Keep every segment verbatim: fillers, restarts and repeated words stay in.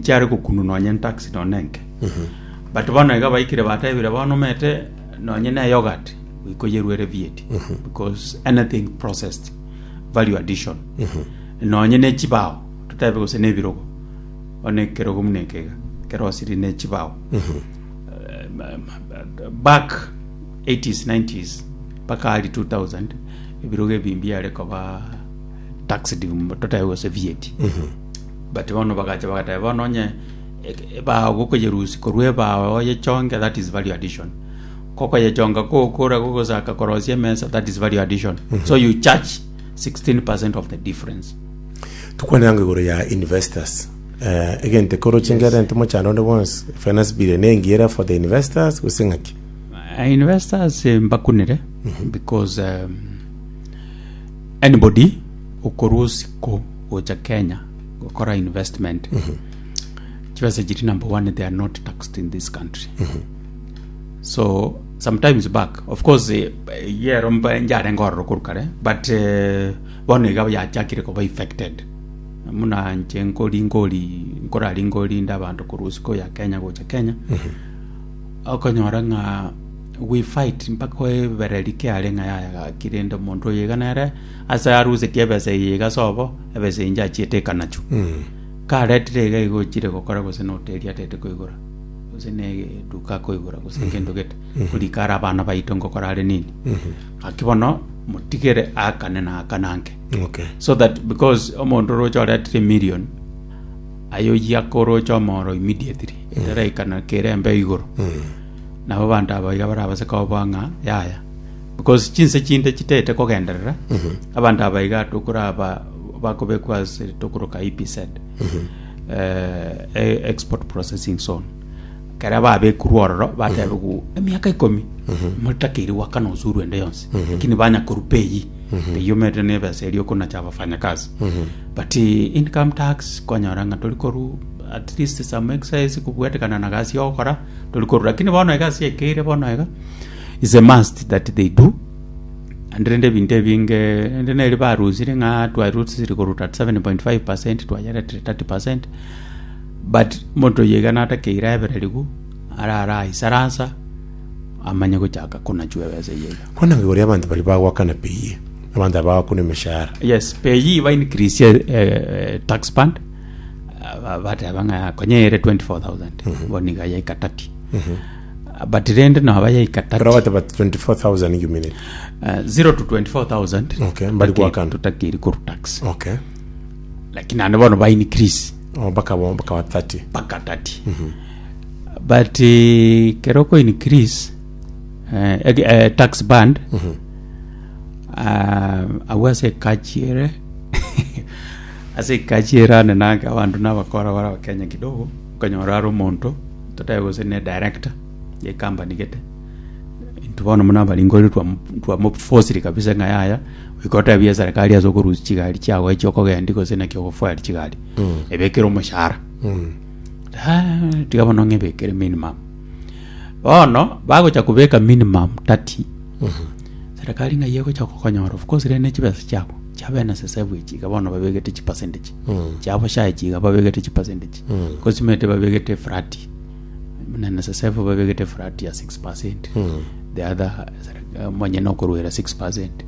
Nchiare gokunu nonye tax nonye enke, but bono iga baikire batebire bono omete nonye na yogurt goikoyerwere V A T, because anything processed, value addition, nonye ne chibao totebe gose na ebirogo, bono ekerogo muna eke iga kerosiri ne chibao. Back eighties, nineties mpaka early two thousand, ebirogo ebi mbiare koba taxed, totebe gose V A T, but bono bagacha bagateba bono onye ebao gokoyerusi korwa ebao oyechonge, that is value addition. Kokoyechonga kokora gogosaka korosia emesa, that is value addition, so you charge sixteen percent of the difference. Tukwananga igoro ya investors, eh, egente koroche ngerente mochando onde bonsi, finance bill nengiera for the investors gose ng'aki? Uh, investors eh, mbakunire because um, anybody okorwa osiko gocha Kenya gokora investment, chibesa chiri, number one, they are not taxed in this country. So sometimes back, of course, eh, yero mba njarenge ororo korwa kare, but eh, bono iga yachakire koba affected muna nche nkori nkori nkorari nkorinda abanto korwa osiko ya Kenya gocha Kenya, okonyora ng'a we fight mpaka oebereri kiare ng'a yaya gaki rende omonto oyo iga nere ase arusetie ebesa eye iga sobo ebesa inche achiete ekanachu karetire iga iga ochire gokora gose na hoteli atete koigora gose na eduka akoigora gose kendo gete korika are abana baito nkokora are nini gaki bono motigere akane na akananke okay so that because omonto oroche oretire million ayo yakoroche omoro immediately etaraikana kerembe igoro nabo banto aba iga barabase koboa ng'a yaya, because chinse chinde chitete kogenderera abanto aba iga tokoraba bakobekwa ase tokoroka E P Z, eh, eh, export processing zone. Kera babekurwa ororo batebigu emiaka ikomi motakeire gwakana usuru ende yonsi, lakini banya koru P A Y E P A Y E omete na ebesa eria okonacha abafanyakazi, but eh, income tax kwanyora ng'a tori koru at least some exercise kobwetekana na gasi ogokora tori koru. Lakini bono egasi ekeire bono iga is a must that they do. And rende ebinto ebinge rende neri barusire ng'a twarusire koruta seven point five percent twayeretire thirty percent, but omonto oyo iga natakeire aebererigu arara aisaransa amanye gochaka konachwa ebesa eye iga. Kwananga igoro ya abanto bari bagwakana P A Y E, abanto aba bagwakuna emeshahara. Yes, P A Y E ba increase eh, tax band. uh, bateba ng'a konyere twenty-four thousand bono iga yaika thirty, but rende noba yaika Kero thirty. bateba twenty-four thousand you minute. uh, zero to twenty-four thousand. Okay, mbari gwakana. Tutakiri koru tax, okay lakini ande bono ba increase Oh, baka baka wa thirty. Mpaka thirty, but uh, kero ko increase uh, eh, tax band, uh, agwo ase ekachiere ase ekachiere ane nange abanto nabakora bara abakenya kidogo okonyora are omonto totabe gose ne director ye company gete intwe bono muna abaringori twamofosiri kabisa ng'a yaya goika serikali ase okorusia chigari chiago echio okogendi gose naki ogofuel chigari ebekere omoshahara. Ah, tiga bono ng'ebekere minimum. Bono bagocha kubeka minimum thirty, serikali ng'ai egocha kokonyora? Of course rende chibesa chiabo chiaba N S S F echi iga bono babegete chipercentage chiabo S H A echi iga babegete chipercentage kosimete babegete flat na N S S F babegete flat ya six percent, the other eh, monyene okorwera six percent,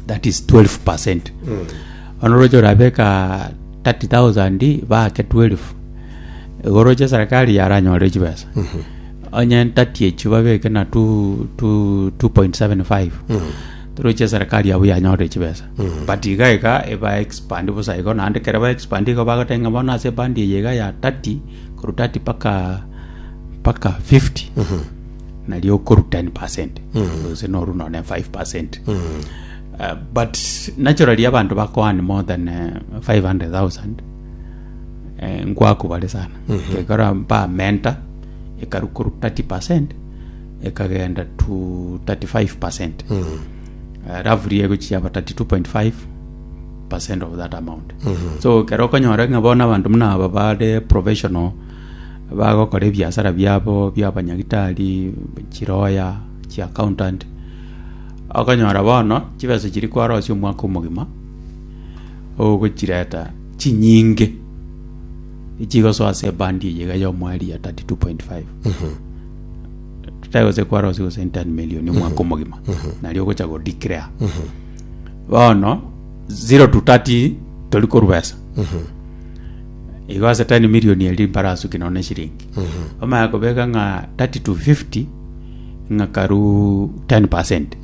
that is twelve percent. Bono roche orabeka thirty thousand baake twelve igo roche serikali yaranyore chibesa onye thirty echio babeke na two, two, two point seven five toroche serikali yabo yanyorire chibesa. But iga iga eba expand bosa igo naende kere ba expand igo bagotenga bono ase band eye iga ya thirty korwa thirty paka paka fifty nario okoru ten percent gose noru none five percent. Uh, but naturally abanto bakoani more than uh, five hundred thousand eh, nkwakubare sana kekora bamenta ekaru koru thirty percent ekagenda to thirty-five percent, uh, roughly egochiaba thirty-two point five percent of that amount. So kero okonyora ng'a bono abanto muna aba bare professional bagokora ebiasara biabo bia abanyagitari, chiroya, chi accountant, okonyora bono chibesa chiri kwarosia omwaka omogima ogochireta chinyinge. Echigosoa ase eband eye iga ya omoerio ya thirty two point five. Totari gose kwarosia gose ten million omwaka omogima, nario ogocha go declare. Bono, zero to thirty tori korwa besa. Igo ase ten million eri mbarasuki nonya na eshiringi. Bamanya kobeka ng'a thirty to fifty, ng'a karu ten percent.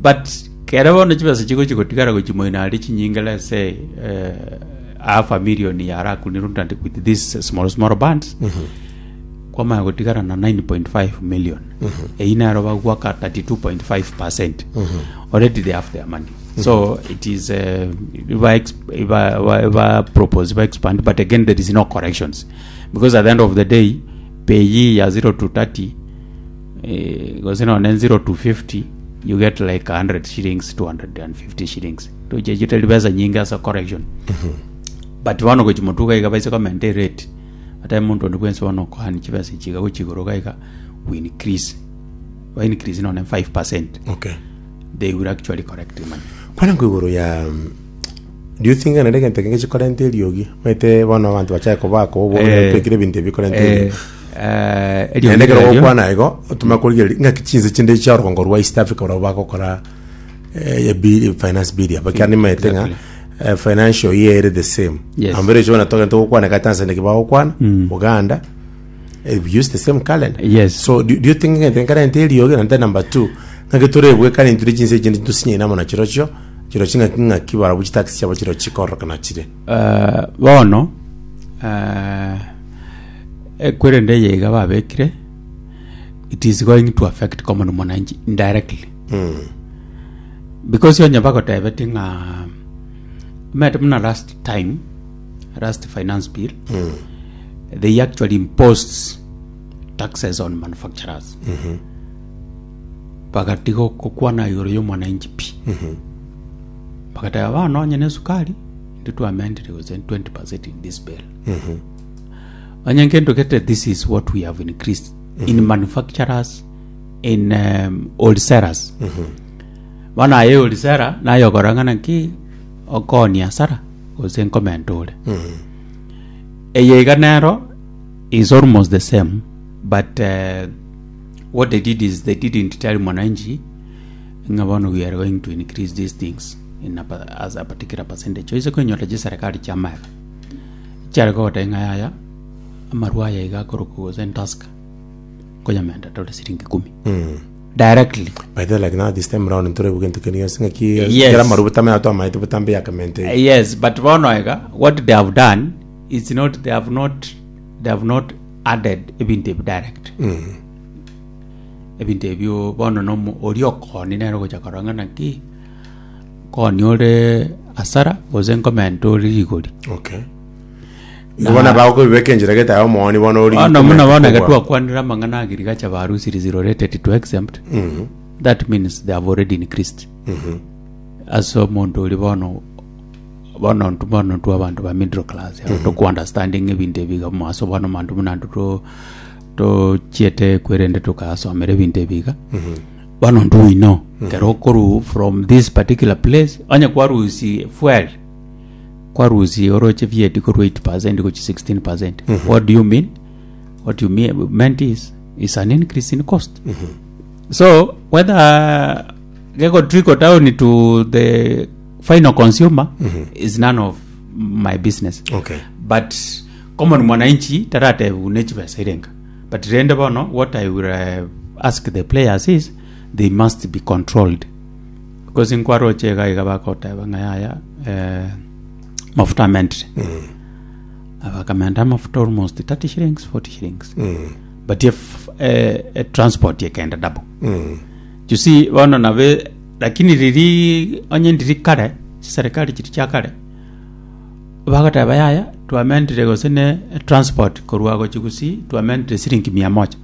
But kere bono chibesa chigochi gotigara gochi moino aria chinyinge let's say eh, half a million yarakunirwe and with these small small bands kwamanya gotigara na nine point five million eyio nero bagwaka thirty two point five percent already they have their money so it is uh, iba, iba, iba, iba propose iba expand but again there is no corrections because at the end of the day pay ya zero to thirty eh, gose nonye zero to fifty you get like a hundred shillings two hundred and fifty shillings toche chitari besa nyinge ase correction but bono gochi motuka iga baise komenta erate ata omonto onde bwensi bono okoani chibesa echi iga gochi igoro iga iga we increase ba increase nonye five percent Okay. they will actually correct the money. Kwana nko igoro ya do you think nere egento kenge chikorenta eriogi maete bono abanto bachake kobaka obo Eh, twekire ebinto ebi bikorenta eh, eriogi eh, eriogi naende ekero riario- gokwana igo otuma korigereria ng'aki chinse chinde chia orogongo rwa East Africa barabwo bagokora eh, bill, finance bill aba ekiagera nimaete ng'a Exactly. eh, financial year ere the same Yes. ambere ekio bono togende togokwana iga Tanzania ki bagokwana Uganda eh, we use the same calendar Yes. so do, do you think ng'ente nkarente eriogi naende number two ng'aki torebwekane intwe chinse echinde tosinyaine amo na chirochio chirochio ng'aki ng'aki barabwo chitax chiabo chirochio chikororokana chire Eh, bono eh, ekwerende eye iga babekire it is going to affect common mwananchi indirectly because onye bagotebeti ng'a omanyete buna last time last finance bill they actually imposed taxes on manufacturers bagatiga gokwana igoro ya omwananchi pi bagateba bono onye na esukari intwe twamendire gose twenty percent in this bill onye nkento gete this is what we have increased in manufacturers in um, wholesalers bono aye wholesaler naye okora ng'a naki okonia hasara gose nkomenta ore eye iga nero is almost the same but uh, what they did is they didn't tell mwananchi ng'a bono we are going to increase these things in a, pa- as a particular percentage oise koinyora chiserikali chia amaega chiare kogoteba ng'a yaya amarwa aya iga akorokwa gose ntusker nkoyamenta tore siringi ikumi directly By the way, like now this time round ntore gento keni yonsi ng'aki Yes. kera maru butamenya twamaete butambe yakamente yes but bono iga what they have done is not they have not they have not added ebinto ebi direct ebinto ebio bono nomo oria okoni nere ogocha korora ng'a naki nkoni ore hasara gose nkomenta ore rigori okay igo bono bagokobibeka enchera gete aye omooni bono ori bono muna bono iga twakwanire amang'ana agriculture barusiri zero rated to exempt that means they have already increased ase omonto ori bono bono ntu bono ntwe abanto ba middle class mm -hmm. toku understanding ebinto ebi iga moaso bono manto buna ntu to tochiete kwerende tukasomera ebinto ebi iga bono ntu we know kero okoru from this particular place onye kwarusi fuel kwarusi oroche VAT korwa eight percent gochi sixteen percent what do you mean what you mean meant is is an increase in cost so whether gego trickle down to the final consumer is none of my business okay but common mwananchi taratebu nechibesa irenga but rende bono what i will uh, ask the players is they must be controlled because nkwaroche iga iga bagoteba ng'a yaya eh, mafuta amentire abakamenta amafuta almost thirty shillings forty shillings but if eh, eh, transport yekenda double you see bono nabe lakini riri onye ndiri kare chiserikali chiri chia kare bagoteba yaya twamendire gose ne transport korwa gochi gusii twamendire siringi mia moja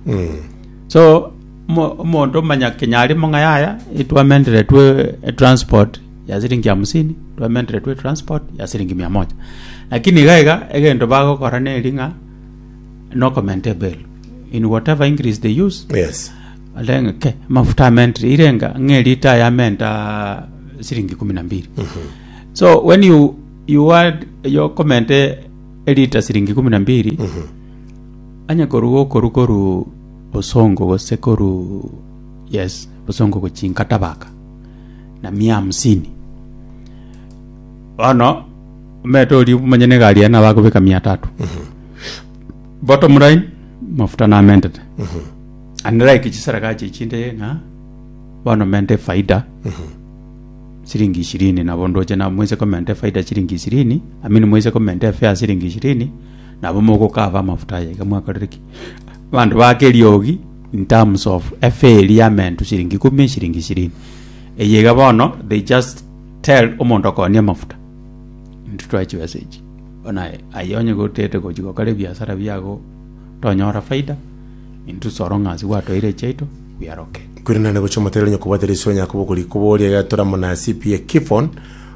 so mo- omonto omanya kenya arimo ng'a yaya etwamendire twe transport ya siringi hamsini twamendire twe transport ya siringi mia moja lakini iga iga egento bagokora neri ng'a no comment bill in whatever increase they use yes alenge ke mafuta amendire irenga ng'e lita yamenta siringi kumi na mbili so when you you add your comment Elita siringi kumi na mbili anya koruga okoru koru bosongo gose koru yes bosongo gochinka tabaka na mia hamsini bono omete oria omanye na egari yaye nabo akobeka mia tatu bottom line mafuta namentete unlike chiserikali echinde ng'a bono mente faida siringi ishirini nabo ndoche na moise komenta efaida chiringi ishirini I mean moise komenta efare siringi ishirini nabo mogokava amafuta aya iga mwakorire ki abanto bake eriogi in terms of efare eria yamentwa shiringi ikomi shiringi ishirini eye iga bono they just tell omonto okoonia amafuta intwe twae chibesa echi bono aye aye onye gotete gochi gokora ebiasara biago tonyora faida intwe so long as gwatoire echiaito we are okay. Kwirenane gochia omoterero onye kobwate risoe onye kobokori koboria iga tore amo na C P A Kifon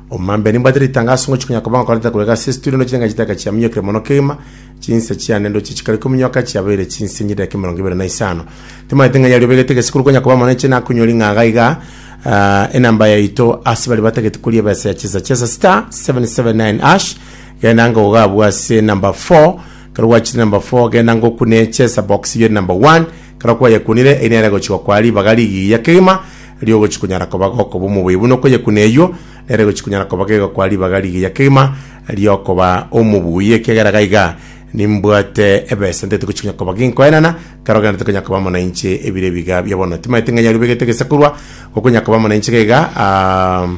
omambe nimbwate ritangaso ngochia konya koba ngokorete korwa iga ase estudio ndoche ng'a chidaka chiaminyokire mono kegima chinsa chiane ndoche chikare kominyoka chiabeire chinsa enye dakika emerongo ebere na isano timanyete ng'a yari obegete egesikuru konya koba mono inche nakonyori ng'a iga iga ah, enamba yaito ase baria batagete koria ebesa ya chesa chesa star seven seven nine hash genda ngoga abwo ase number four kero gwachire number four genda ngokune chesa box yeri number one kero kwayekunire eri nere gochia kwa ribaga rigiya kegima riogochi konyara koba gokoba omobuya buna okoyekuna eywo nere gochi konyara koba gegokwa ribaga rigiya kegima riokoba omobuya ekiagera iga nimbwate ebesa ntete gochi konya koba ginkoenana kero ogendete konya koba amo na inche ebire ebiga bia bono timanyete ng'a yari obegete egesakurwa gokonya koba amo na inche iga um,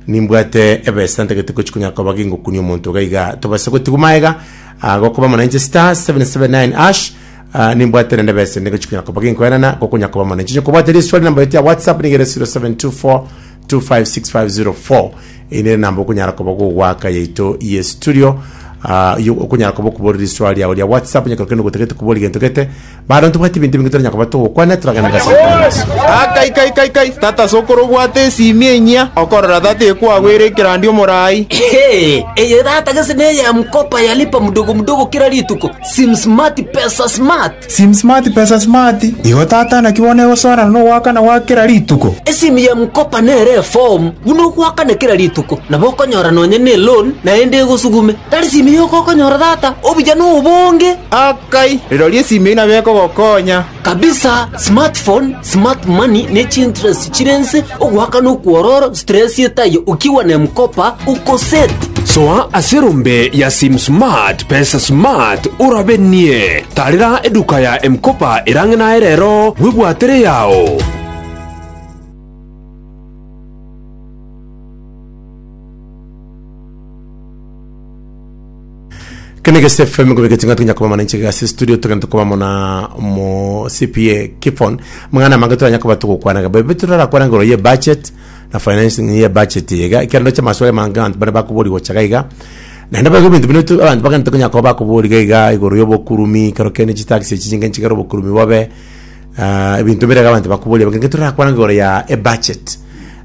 nimbwate ebesa ntagete gochi konya koba gingokunia omonto iga iga tobase gotigwa maega uh, gokoba amo na inche star seven seven nine hash uh, nimbwate rende ebesa ende gochi konya koba ginkoenana gokonya koba amo na inche nyokobwate riswali namba yetu ya WhatsApp nigere zero seven two four two five six five zero four ine namba okonyara koba gogwaka yaito ye studio uh, yo okonyara koba okobora riswali yao ria WhatsApp nyakoro kende gotagete kobora gento gete bado ntobwate ebinto ebinge toranya koba togokwana turagenda gase. Akai kai kai kai tata sokoro obwate esimi enyia okorora tata ekwagwera ekerandi omorai. Hey, eye tata gese neye mkopa yalipa mdogo mdogo kila rituko sim smart pesa smart. Sim smart pesa smart igo tata nakibone gosona nowakana gwakera rituko. Esimu ya mkopa nere form buno gwakana kila rituko nabo okonyora nonye ne loan naende egosugume tari simu yoko okonyora tata obuya nobonge. Akai riroria esimi eyio nabo ekogokonya. Kabisa smartphone smart money ne chinterest chirense ogwakana okwororo stress etayo ukiwa na mkopa uko set. Soa aserombe ya sim smart pesa smart urabenie tarira eduka ya mkopa erang'ina erero bwibwatere yao. Kene gese F M ngobeke tinga tunya koba mana nche gase studio tugenda koba mona mo C P A Kifon mngana mange turanya koba tukukwana bebe turara kwana ngoro ye budget na financing ye budget yega kirando cha maswali manga abantu bane bakubori gochaga iga naenda bago bintu bino abantu bagenda tunya koba bakubori iga igoro yo bokurumi karo kene chitaxi chichinga nchigaro bokurumi bobe ah, ebintu birega abantu bakubori bagenda turara kwana ngoro ya e budget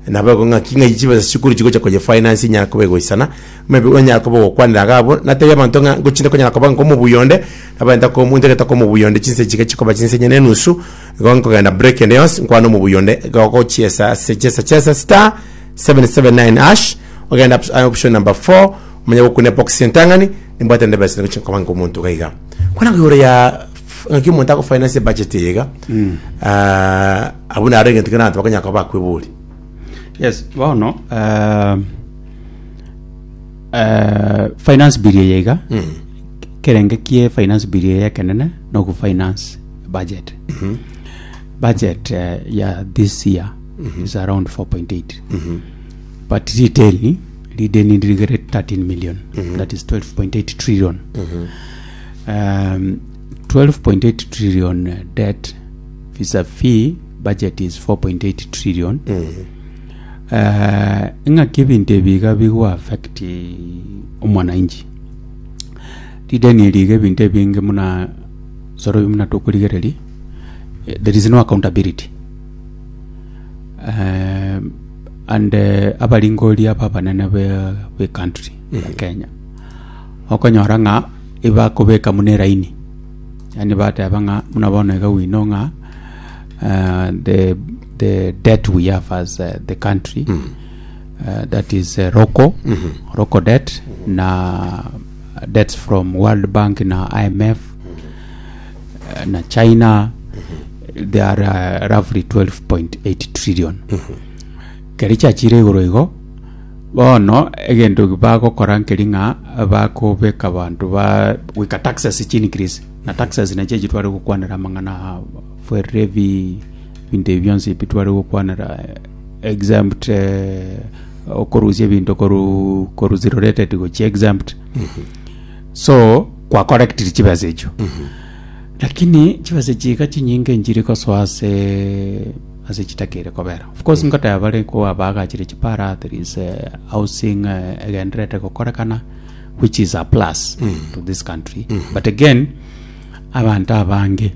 nabo ng'aki ng'a chibesa chikuru chigocha koye finance nyara koba egoisana maybe onyara koba gokwanera gabo natebia abanto ng'a ngochinde konyara koba nkomobuyonde abanta komuntegeta komobuyonde chinse chike chikoba chinse nyene enusu igo nkogenda break ende yonsi nkwana omobuyonde gogochiesa ase chesa chesa star seven seven nine hash ogenda op- option number four omanya gokuna box entang'ani nimbwate nde besa ngochi nkoba nkomonto gaiga kwana ng'igoro ya ng'aki omonto agofinance budget iga uh, abwo naro egento kere abanto bakonyara koba bakwebori. Yes bono uh, uh, finance bill eye iga kerenge kie finance bill eye ekenene no finance budget budget uh, ya this year is around four point eight but retail rideni ndirigere thirteen million, that is twelve point eight trillion. um, twelve point eight trillion uh, debt vis-a-vis budget is four point eight trillion. uh, ng'aki ebinto ebiga bigwa affect omwananchi rideni eriga ebinto ebinge muna soro muna tokorigereri eh, there is no accountability um, and uh, abaringori aba abanene be, be country ya Kenya okonyora ng'a ibakobeka muna eraini yani bateba ng'a muna bono iga we know ng'a uh, the the debt we have as uh, the country mm. uh, that is uh, roko mm -hmm. roko debt mm -hmm. na debts from World Bank na I M F eh, na China, they are uh, roughly twelve point eight trillion. Keri chiachire igoro igo bono egento bagokora nkeri ng'a bakobeka bantu ba wika taxes chi increase na taxes nache chitware gokwanera amang'ana fuel levy, binto ebi bionsi bitware gokwanera eh, exempt, eh, okorusia ebinto koru koru zero rated gochi exempt. So kwa correct chibesa echo, lakini chibesa chiga chinyinge nchiri kosoa ase ase chitakere kobera. Of course, nkoteba bare ko abagachire chipara, there is uh, housing uh, egenderete gokorekana, which is a plus to this country. But again, abantu abange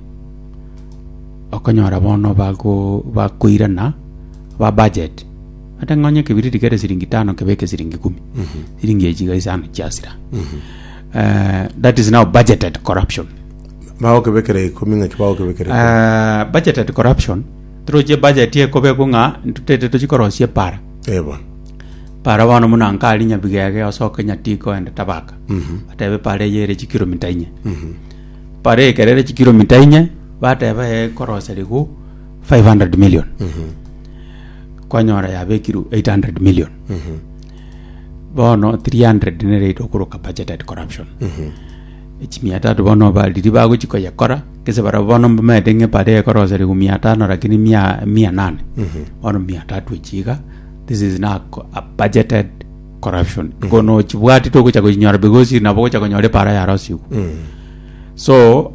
okonyora bono bago bakoirana ba budget ate ng'onye kebiriti kere siringi tano kebeke siringi kumi, siringi echiga isano chiasira. uh, that is now budgeted corruption. Bagokebekera ikomi ng'aki bagokebekera? uh, budgeted corruption, turoche budget ekobekwa ng'a ntutete tochikorosia para. Ebo. Para bono muna nkari Nyabigege osoke Nyatiko ende Tabaka, batebe para eyere chikilomita inye, para ekerere chikilomita inye, bateba ekoroserigwa five hundred million, kwanyora yabekiru eight hundred million. Bono three hundred nere okoroka budgeted corruption. Echimia tatu bono bariri bagochikoyekora kese barabwo bono mbamaete ng'e para ekoroserigwa mia tano, lakini mia mia nane, bono mia tatu echiga. This is now co- a budgeted corruption. Kono chibwati togocha gochinyora because nabo gocha konyora epara yarosigu. So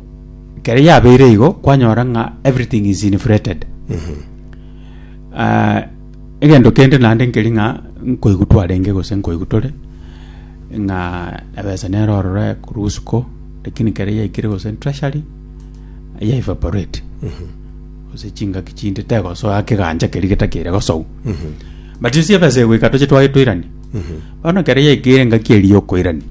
kere yabeire igo kwanyora ng'a everything is inflated. uh, egento kende naende nkeri ng'a nkoigu twarenge gose nkoigu tore ng'a ebesa nere ororo kurusuko, lakini kere yaikire gose treasury ya evaporate gose chingaki chinde tegosoa keganja keri getakere gosou. But you see, ebesa egoika toche twage toirani bono kere yaikire ngaki eri yokoirani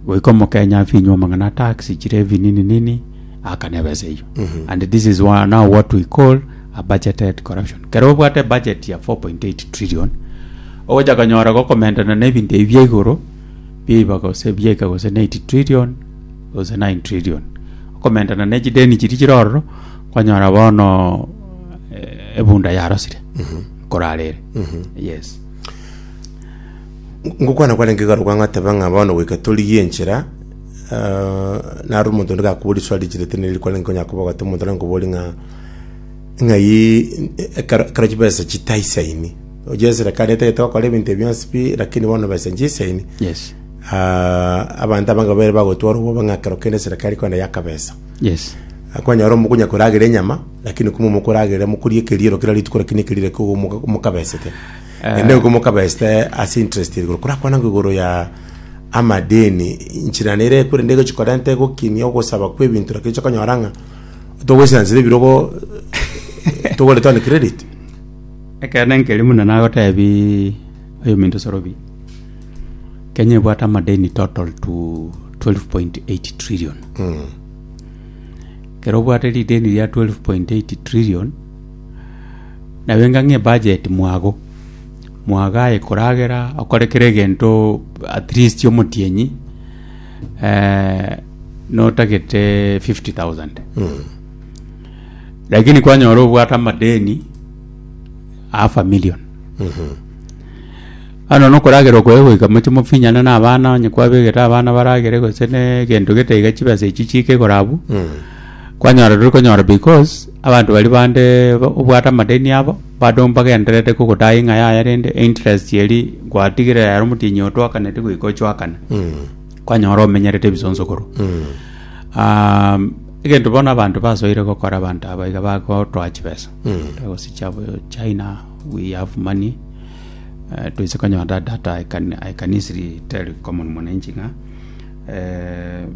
goika omokenya afinywa amang'ana tax chirevi nini nini akana ebesa eyo. And this is one, now what we call a budgeted corruption. Kero obwate budget ya four point eight trillion, ogocha konyora gokomendana na ebinto ebi bia igoro biiba gose biaika gose na eight trillion gose nine trillion, okomendana na echideni chiri chire ororo, kwanyora bono eh, ebunda yarosire korarere. Yes. Ngokwana kwarenge garuka ng'ateba ng'a bono goika torigie enchera. uh, naro omonto onde gakobori swali chirete neri kwarenge konya koboga omonto nankobori ng'a ng'ai ekero ekero chibesa chitaisaini oje serikali etagete gokora ebinto ebionsi pi, lakini bono besa nchisaini. Yes. uh, abanto abange babere bagotwara obwoba ng'a kero kende serikali kwenda yakabesa. Yes. Kwanyora omokonya koragera enyama, lakini kumwe mokoragera mokoria ekeriero kera rituko, lakini ekerire ko mokabesete ende ko mokabesete ase interest igoro korakwana ngo igoro ya amadeni nchira nere kure ndego chikorente gokinia ogosaba kwa ebinto, lakini chokonyora ng'a togwesiansire ebirogo togoreta on credit. Ekene nkeri muna nagotebi oyo minto sorobi Kenya ebwate amadeni total to twelve point eight trillion. Kero obwate rideni ria twelve point eight trillion, nabe ngang'e budget mwago mwagaye koragera okorekera egento at least omotienyi eh, notagete fifty thousand, lakini kwanyora obwate amadeni half a million. Ano nokoragera okwe goika moche mofinyana na abana onye kwabegete abana baragere gose ne egento gete iga chibesa echi chike korabu kwanyora turi konyora because abantu bari bande ba- obwate amadeni abo bado mbagenderete kogotai ng'a yaya rende interest eri gwatigire ero omotinyi otwakanete goika ochwakana kwanyora omenyerete ebisonsokoro. um, egento bono abantu basoire gokora, abantu aba iga bagotoa chibesa gose chiabo China, we have money. uh, tuise konyora that data. I can, I can easily tell common mwananchi ng'a eh,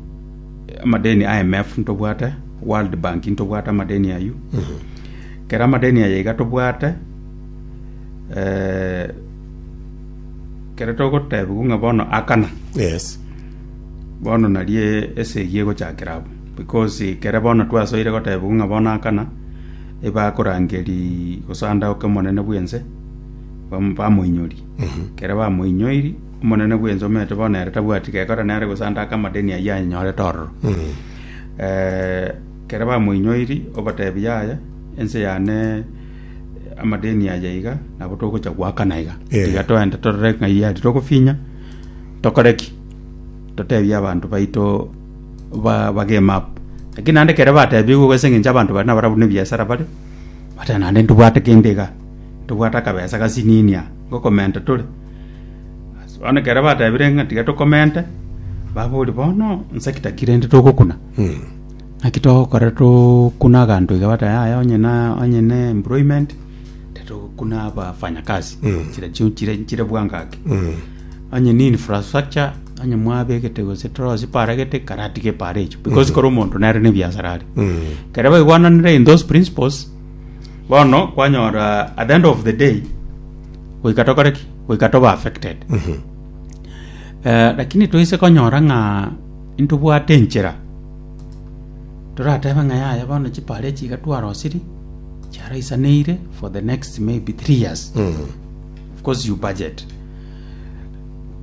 amadeni I M F ntobwate, World Bank ntobwate amadeni ayu. Kera amadeni aya iga tobwate, eh, kere togotebiwa ng'a bono akana. Yes. Bono nari esegi egochakera abo because kere bono twasoire gotebiwa ng'a bono akana ebakorangeri gosanda oke omonene bwense bam- bamoinyori. Kere bamoinyoiri Omonene bwa ense omanyete bono ere tabwati gekora nere gose ande ake amadeni aywo anyorete ororo. Eh, kere bamoinyoiri obatebi yaya ense yane amadeni aya iga nabo togocha goakana iga. Eh. Tiga toende torore ng'ai aria togofinya tokore ki? Totebie abanto baito ba bagame up. Lakini naende ekero batebigwe ase eng'encho abanto baria nabarabwo na ebiasara bare, bateba naende ntobwate kende igaa, ntobwate akabesa gasinini aa, ngokomenta tore. Ase bono ekero batebire ng'a tiga tokomente, baboria bono nsekta ki rende togokuna? Naki togokora tokune aganto iga bateba yaya onye na onye na employment, titogokuna abafanyakazi, chire chio chire chire bwango ake. Onye ni infrastructure, onye mwabegete gose torosie para gete, karatige epara echio because kora omonto nere na ebiasara are. Ekero baigwananire in those principles, bono kwanyora at the end of the day, goika tokore ki? Goika tobe affected. Eh, lakini toise konyora ng'a ntobwate enchera, toratebe ng'a yaya bono chipara echi iga twarosirie, chiaraisaneire for the next maybe three years. Of course you budget.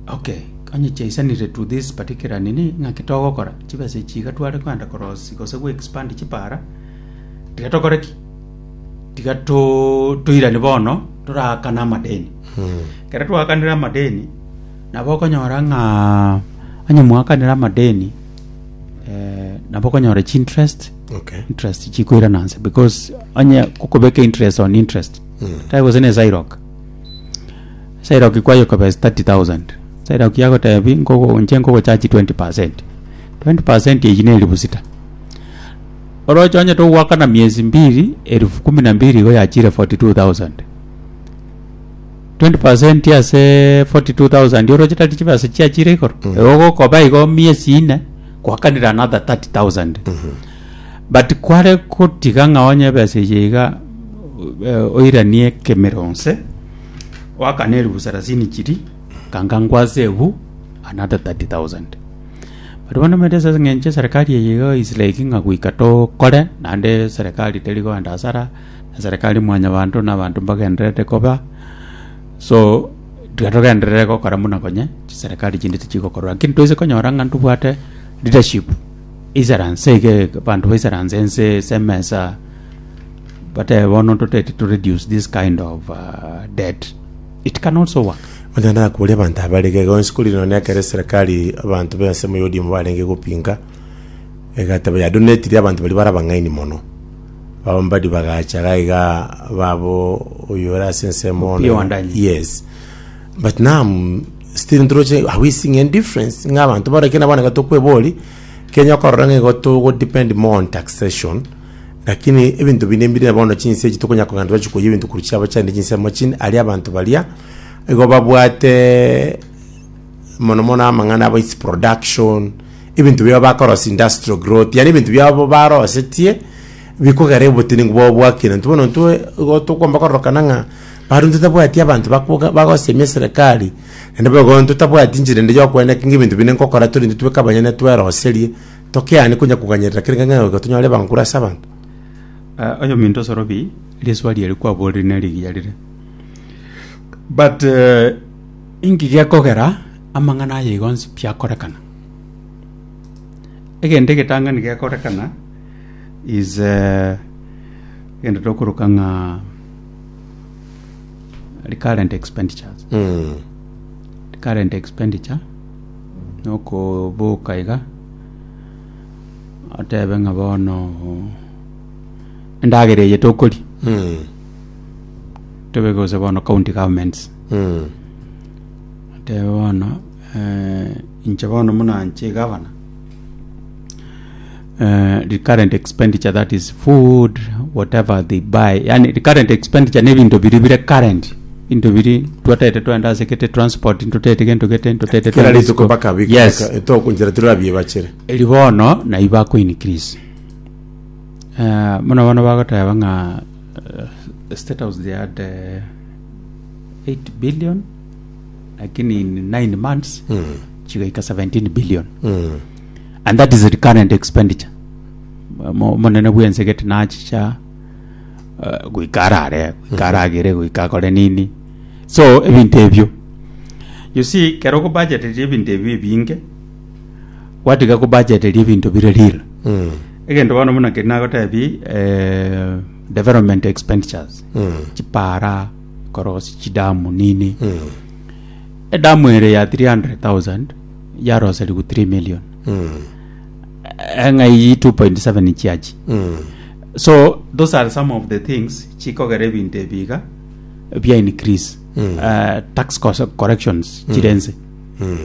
Okay, onye chiaisanire to this particular nini, ng'aki togokora, chibesa echi iga tware kogenda korosia gose go expand chipara, tiga tokore ki? Tiga to toirane bono, toraakane amadeni. Ekero twaakanire amadeni, nabo okonyora ng'a onye mwaakanire amadeni, eh, nabo okonyora chiinterest, Okay. interest chikoirana nse because onye okobeka interest on interest, tari gose na esirock. Esirock kwayekobesa thirty thousand, esirock yagotebi nkogo inche nkogochachi twenty percent, twenty percent eywo na elifu sita. Oroche onye togoakana miezi mbili, elfu kumi na mbili igo yachire forty two thousand. Twenty percent ase forty two thousand oroche tari chibesa chiachire igoro, igo ogokoba igo miezi ine, gwakanire another thirty thousand. But kware gotiga ng'a onye ebesa eye iga eh, oiranie ekemero nse, oakane elifu sarasini chiri, kanga nkwase ebu another thirty thousand. But bono omanyete ase eng'encho eserikali eye iga is like ng'a goika tokore, naende serikali teri kogenda hasara, na serikali mwanyabanto na abanto mbagendererete koba, so tiga togenderere gokora buna konye chiserikali chinde tichigokorwa. Lakini toise konyora ng'a ntobwate leadership isaranse iga abanto baisaranse ense ase emesa batebe bono totete to reduce this kind of uh, debt it can also work. Onye nakoboria abanto abare iga iga onsi korire nonye ekero eserekari abanto ba ensemo ya ODM barenge gopinga, egateba yadonetire abanto baria bare abang'aini mono. Abambadi bagacha iga iga babo oyo ore ase ensemo Opiyo ono Wandanyi. yes. But now still ntoroche are we seeing any difference ng'a abanto bare kende bono iga tokwebori, Kenya okorora ng'a igo togo depend more on taxation, lakini ebinto binde mbire bono chinse echi tokonya kogenda twachia koiywa ebinto korwa chiabo chiaende chinsemo chinde, aria abanto baria, igo babwate mono mono amang'ana abo its production, ebinto biabo bakorosia industrial growth, yaani ebinto biabo barosetie, bikogera obotenenku bwabo bwakina. Intwe bono intwe igo tokomba kororokana ng'a bado ntotabwati abanto bakoga bagosemia eserekari, naende boigo ntotabwati enchera ende ya okoeneka ng'a ebinto binde nkokora tore intwe tweka abanyene tweroserie, tokeani konya koganyerera kere ng'a goika tonyore ebankuru ase abanto. Uh, oyominto osorobi riswali eri kwaborire ne rigiya rire but uh, inki gekogera amang'ana aya igo onsi pi akorekana egento egetang'ani gekorekana is uh, egento tokoroka ng'a recurrent expenditures Mm. recurrent expenditure nokoboka iga otebe ng'a bono endagera eye tokoria Mm. tobe gose bono county governments Mm. otebe bono eh, inche bono muna nche governor eh, recurrent expenditure that is food whatever they buy yani recurrent expenditure nebinto biri bire current binto biri twatete twenda ase gete transport ntotete gento gete ntotete Kera twende rituko isiko. mpaka bika yes tokunchera turabie bachere. eri bono nai bako increase eh, mono bono bagoteba ng'a eh, state house they had eh, eight billion lakini in nine months Mm. chigaika seventeen billion Mm. and that is recurrent expenditure Mo- monene bwense gete nachicha uh, goika arare goika aragere goika akore nini so ebinto ebio You see, kero okobudgeteria ebinto ebi ebinge, gwatiga kobudgeteria ebinto bire real. Mm. Egento bono buna keri nagotebi eh, development expenditures Mm. chipara korosi chidamu nini Mm. edamu ere ya three hundred thousand yaroseriwu three million Mm. eng'ai two point seven chiachi Mm. so those are some of the things chikogera ebinto ebi iga bia increase Mm. uh, tax cos- corrections chirense Mm.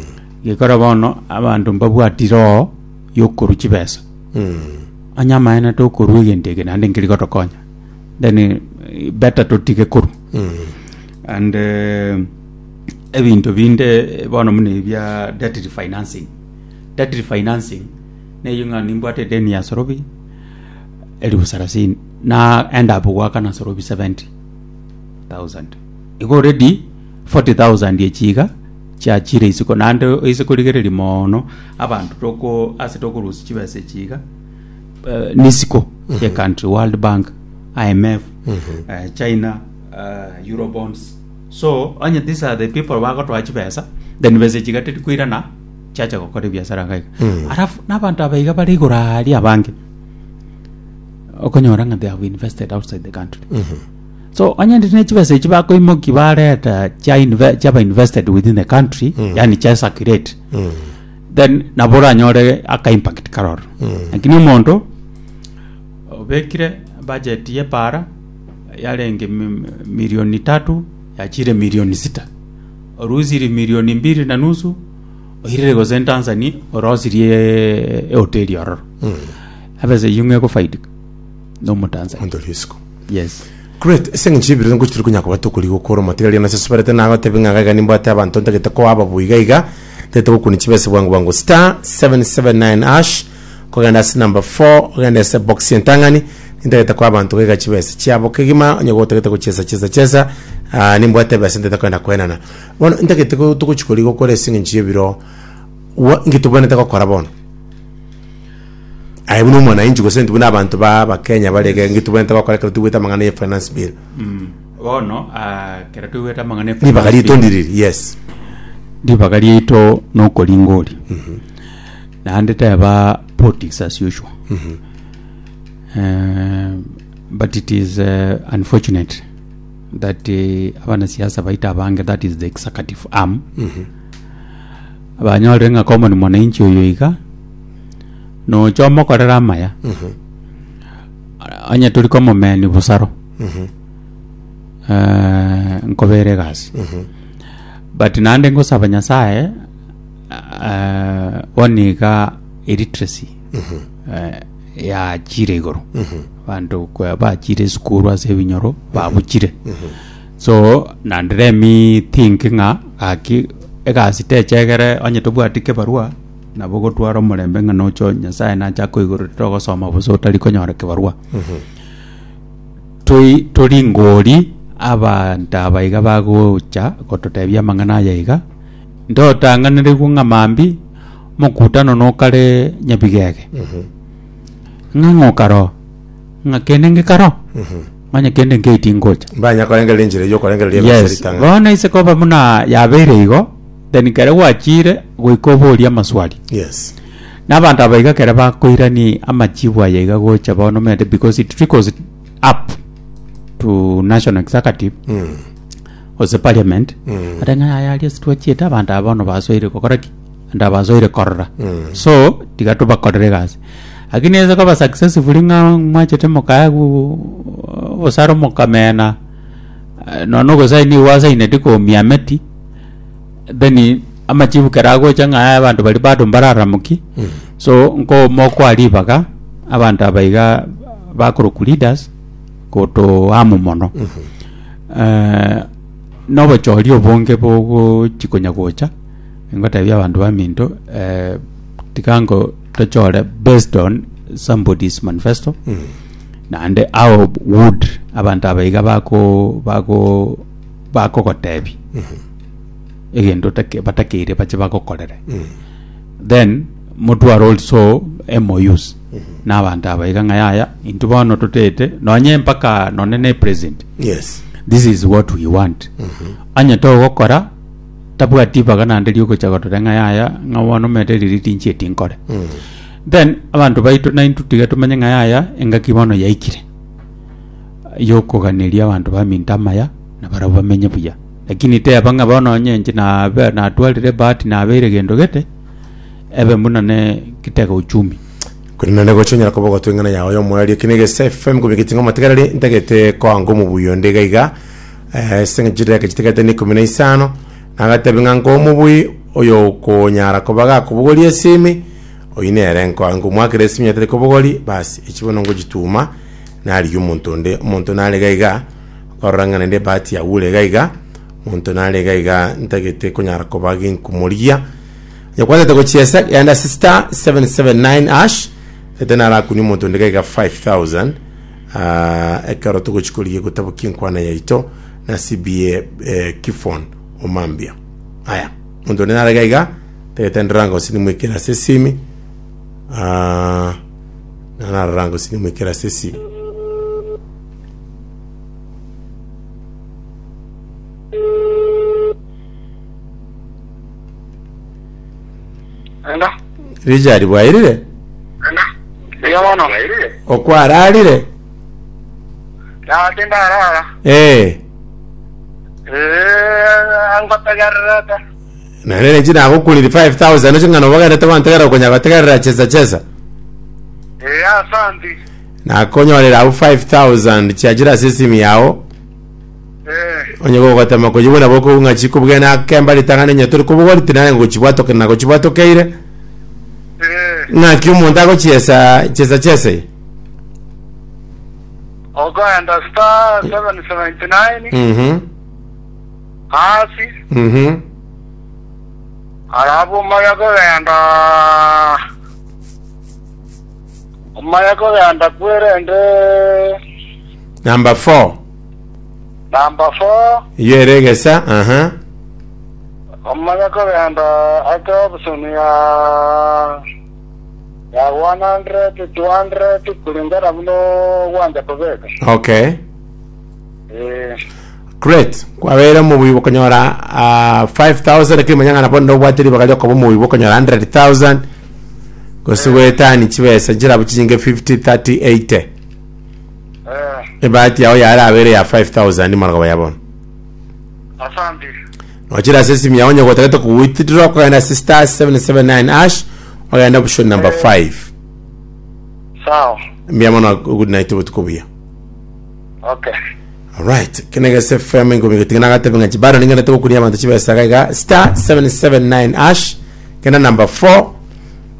gekora bono abanto mbabwatire oo yokorwa chibesa Mm. onye amaene tokorwa egento eke naende nkeri gotokonya then eh, better totige korwa Mm. and eh, ebinto binde eh, bono buna ebia debt refinancing debt refinancing neywo ng'a nimbwate edeni ya sorobi elifu sarasini na end up gwakana sorobi seventy thousand igo already forty thousand echiga chiachire isiko naende ase korigereria mono abanto toko ase tokorusia chibesa echiga eh, nisiko ye country world bank I M F eh, China uh, eurobonds so onye these are the people bagotwaa chibesa then besa echiga terikoirana chiacha gokora ebiasara iga iga alafu na abanto aba iga bare igoro aria abange okonyora ng'a they have invested outside the country so onye ndi ne chibesa echi bakoimoki bareta chia inve- chiaba invested within the country yani chia circulate then nabo oranyore aka impact karoro lakini omonto obekire budget ye para yarenge mi- milioni tatu yachire milioni sita orusiri milioni mbili na nusu oirire gose Tanzania orosirie ehoteli ororo ebesa eywo ng'a egofaidika na omotanzania Omonto oria isiko. Yes. Great, ase eng'encho y'ebirero ngochi turi konya koba tokori gokora omotigaria nase soberete nagotebi ng'a iga nimbwate abanto ntagete koa ababu iga iga ntagete gokuna chibesa bwango bwango star seven seven nine hash kogenda ase number four ogende ase box entang'ani nintagete koa abanto iga chibesa chiabo kegima onye gotagete gochesa chesa chesa ah, nimbwate ebesa ntagete kogenda koenana bono ntagete go- togochi kori gokora ase eng'encho y'ebiro wa inki tobwenerete gokora bono aye buna omwananchi gose intwe buna abanto ba abakenya barege inki tobwenerete gokora ekero tobwete amang'ana ya finance bill bono ah, kero tobwete amang'ana ya ribaga finance rito bill, ndiriri yes ribaga riaito nokoringa ori naende teba politics as usual Eh, but it is uh, unfortunate that uh, abanasiasa baito abange that is the executive arm banyorire ng'a common mwananchi oyo iga nocha omokorera amaya onye tori komomeni busaro eh, nkobere egasi but naende ngosaba nyasaye eh, bono iga illiteracy eh, yachire igoro banto kwa bachire esukuru ase ebinyoro babuchire so naende let me think ng'a gaki egasi techegere onye tobwati kebarua nabo gotwara omorembe ng'a nocho nyasaye nacha koigoro togosoma bosa otari konyora kebarua toi tori ngori abanto aba iga bagocha gototebia amang'ana aya iga ntotang'anerigwe ng'a mambi mokutano nokare nyabigege ng'a ng'okaro ng'a kende ngekaro manya kende nkeiti ngocha mbanya korengereria enchera eywo okorengereria ebesa yes ritang'ani bono ase koba buna yabeire igo then kere gwachire goika oboria amaswali yes na abanto aba iga kere bakoirani amachibu aya iga gocha bono omanyete because it trickles up to national executive mm. gose parliament Mm. ate ng'a aya aria sitwachiete abanto aba bono basoire gokora ki abanto aba basoire korora Mm. so tiga tobakorere egasi lakini ase koba successfully ng'a mwachete mokaegwa obosaro mokamena eh, nonya ogosaini gwasaineti komiameti then amachibu kera agocha ng'a aya abanto bari bado mbararamoki so nko mokoa ribaga abanto aba iga bakoroku leaders gotoamu mono eh, nobochori obonge bogochikonya gocha ngotebia abanto baminto eh, tigango tochore based on somebody's manifesto naende how would abanto aba iga bako bako bakogotebi egento take- batakeire bache bagokorere then motware also M O Us na abanto aba iga ng'a yaya intwe bono totete nonye mpaka nonye na president yes this is what we want anya togokora Tabwati ibaga naende riogocha gotora ng'a yaya ng'a bono omanyete riri tinchieti nkore. Then abanto baito naintwe tiga tomanye ng'a yaya engaki bono yaikire yokoganeria abanto baminto amaya na barabwo bamenye buya. Lakini teba ng'a bono onye inche nabe natwarire ebahati nabeire gento gete, ebe buna ne kitega uchumi. Korende naende gocha onyara koba ogotwa eng'ana yao y'omoerio eke negese F M komigeti ng'a omotegereri ntagete koanga omobuya onde iga iga eh, ase eng'encho chidakika chitigete na ikomi na isano nagatebi ng'a nkoe omobui oyo okonyara koba gakobogoria esimi oyio nere nkoa nkomwakera esimi atari kobogori basi echi bono ngochituma narigia omonto onde omonto nare iga iga okorora ng'a naende ebahati yaure iga iga omonto nare iga iga ntagete konyara koba ginkomorigia. Nyakwatete gochiesa genda ase star seven seven nine hash ete narakunia omonto onde gaiga five thousand ah, ekero togochi korigia gotabokia enkwana yaito na C B A eh, Kifon omambia aya omonto onde nare gaiga tagete ndoranga gose nimwekere ase esimi ah, naroranga gose nimwekere ase esimi. Enda. Richard bwairire? Buya mono. Okwararire? Ya tindarara. Eh. Eh, ngotegererete. Naende ninche nagokuriri five thousand oche ng'a nobogenderete gwantegerera okonya gotegerera chesa chesa. Eh, asanti. Nakonyorera abwo five thousand chiachire ase esimi yao. Eh, Onye gogotema koyigwa nabo okobua ng'a chikobugena akemba ritang'ani onye tori kobogori tinare ngochibwatoke nagochibwatokeire. Eh. Ng'aki omonto agochiesa chesa chesa eye? Okoenda star seven seventy nine Mhm. hasi Mhm. alafu omanye kogenda omanye kogenda kwerende Number four. Number four. Iyo ere egesa, aha. Omanye kogenda ake option ya ya one hundred, two hundred kulingana muno gwanja kobeka. Okay. Eh. Great. Kwabeire omobuya bokonyora uh, five thousand lakini manya ng'a nabo ndobwate ribaga riokoba omobuya bokonyora hundred thousand gose goetani chibesa chirabu chinyinge fifty, thirty, eighty. Eh. Ebahati yao yarabere ya five thousand marogoba ya bono. Asante. Nochira ase esimu yao onye gotagete kowithdraw okogenda ase star seven seven nine hash ogenda option number five. Sawa. Mbuya mono, good night, obotuko buya. Okay. Alright, kenegese F M ngomi gotiga nagatebe ng'a chibaro ningenete gokuria abanto chibesa iga iga star seven seven nine hash genda number four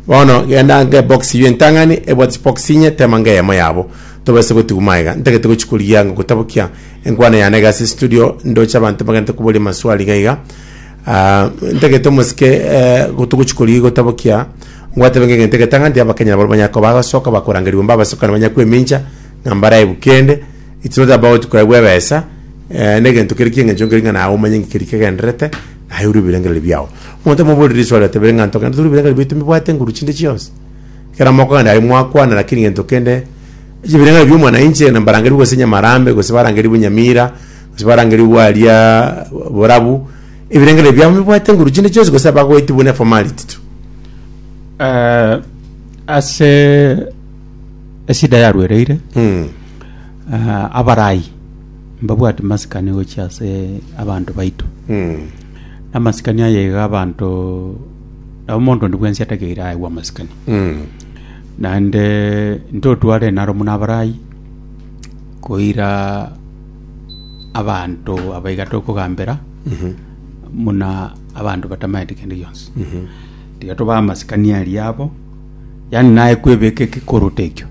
bono genda nge box iyo entang'ani ebwate box inye tema nge eyemo yabo tobese gotiguma iga ntagete gochikuria nga gotabokia enkwana yane iga ase studio ndoche abanto bagenete koboria maswali iga iga. Ah, ntagete omosike eh, gotogochikuria gotabokia ngwatebe ng'e egento egetang'ani nti abakenya nabo banyako bagosoka bakorangerigwa mbabasoka banya kwemincha ng'a mbaraebu kende. It's not about koegwa ebesa eh, negento kere kieng'encho nkeri ng'a nawe omanye ng'ikeri kegenderete naye ore ebirengererio biao omonto omoborire riswali atebere ng'a ntogende tore ebirengererio biaito mbibwate nguru chinde chionsi kera mokogenda aye mwakwana lakini gento kende ebirengererio bia omwananchi na mbarangeri gose Nyamarambe gose barangeri Nyamira gose barangeri bwaria Borabu ebirengererio biabo mbibwate nguru chinde chionsi gose bagoeti buna formality tu. Eh, ase esida yarwereire mm. uh, abarai mbabwate masikani gochia ase abanto baito Mm. amasikani aya iga abanto nabo omonto onde bwensi atakeire aegwe amasikani Mm. naende ntotware naro muna abarai koira abanto abaiga tokogambera muna abanto batamaete kende gionsi tiga tobae amasikani aria abo yani naye kwebeka ekikoroto ekio.